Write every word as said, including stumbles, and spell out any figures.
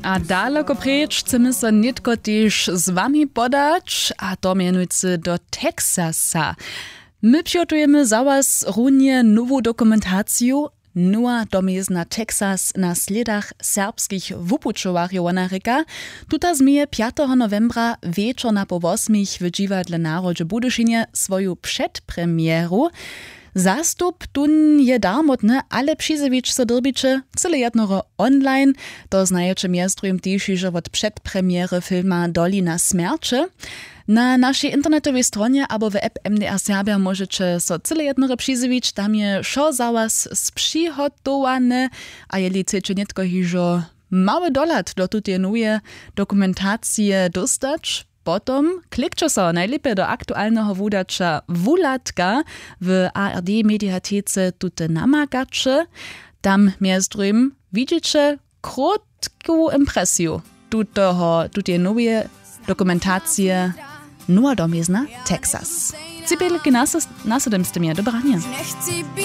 A daloko preč chcemy so nětko tež z wami podać, a to mjenujcy do Texasa. My přihotujemy za was runje nowu dokumentaciju. Nowa domjezna Texas na slědach serbskich wupućowarjow, wona rěka. Tuta změje pjateho nowembra wječor na poł wosmich w dźiwadle Narodźe w Budyšinje swoju předpremjeru. Zastup tón je darmotny, ale přizjewić so dyrbiće cyle jednoho online. To znajeće mjez druhim tež hižo wot předpremjery filma Dolina smjerće. Na našej internetowej stronje abo w app M D R Serbja móžeće so cyle jednoho přizjewić, tam je wšo za was spřihotowane. A jeli chceće nětko hižo mały dohlad do tuteje noweje dokumentacije dóstać, potom klikće so najlěpje do aktualneho wudaća Wuhladka w A R D mediatece tute namakaće. Tam mjez druhim widźiće krótku impresiju tuteho tuteje noweje dokumentacije. Nowa domjezna Texas. Cipelki na sydemstemje dobranje.